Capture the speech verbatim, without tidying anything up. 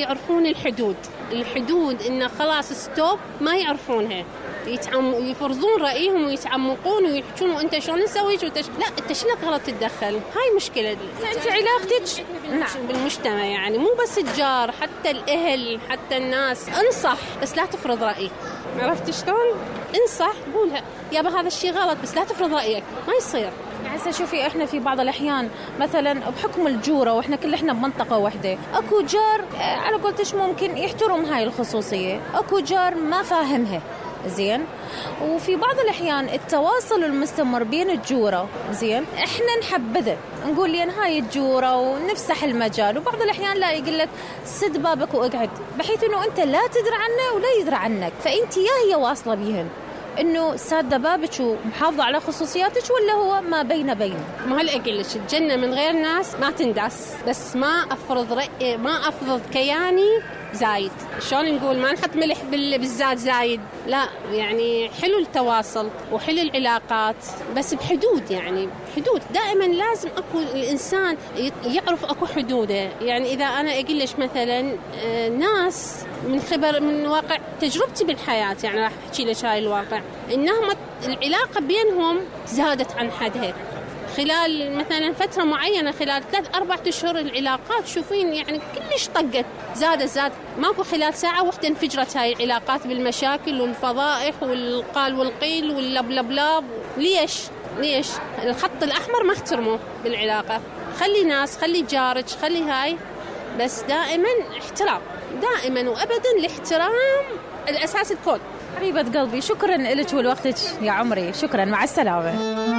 يعرفون الحدود الحدود إنه خلاص ستوب، ما يعرفونها، يتعم يفرضون رأيهم ويتعمقون ويحكون وأنت شلون نسويش وتش... لا أنت شنك غلط تتدخل. هاي مشكلة. أنت علاقتك نعم بالمجتمع، يعني مو بس الجار، حتى الأهل، حتى الناس. انصح بس لا تفرض رأيك. عرفت شلون؟ انصح، قولها يابا هذا الشيء غلط، بس لا تفرض رأيك، ما يصير. هسه شوفي احنا في بعض الاحيان مثلا بحكم الجوره واحنا كل احنا بمنطقه واحده، اكو جار على قولتش ممكن يحترم هاي الخصوصيه، اكو جار ما فاهمها زين. وفي بعض الأحيان التواصل المستمر بين الجورة زين إحنا نحبذه، نقول لين هاي الجورة ونفسح المجال، وبعض الأحيان لا يقول لك سد بابك وأقعد، بحيث إنه أنت لا تدري عنه ولا يدري عنك، فأنت يا هي واصلة بيهن إنه سادة بابك ومحافظة على خصوصياتك، ولا هو ما بين بين. ما هل أقول لك الجنة من غير ناس ما تنداس، بس ما أفرض رأي، ما أفرض كياني زايد. شلون نقول ما نحط ملح بالزاد زايد، لا يعني حلو التواصل وحلو العلاقات بس بحدود، يعني حدود دائما لازم اكو الانسان يعرف اكو حدوده. يعني اذا انا اقول لك مثلا ناس من خبر من واقع تجربتي بالحياه، يعني راح احكي لك هاي الواقع، انهم العلاقه بينهم زادت عن حدها خلال مثلا فترة معينة، خلال ثلاث أربعة أشهر العلاقات شوفين يعني كلش طقت، زادت زاد ماكو خلال ساعة واحدة انفجرت هاي العلاقات بالمشاكل والفضائح والقال والقيل واللبلبلاب. ليش؟ ليش؟ الخط الأحمر ما احترموه بالعلاقة. خلي ناس، خلي جارج، خلي هاي، بس دائما احترام، دائما وأبدا الاحترام الأساس الكون. حبيبة قلبي شكرا لك ولوقتك يا عمري، شكرا، مع السلامة.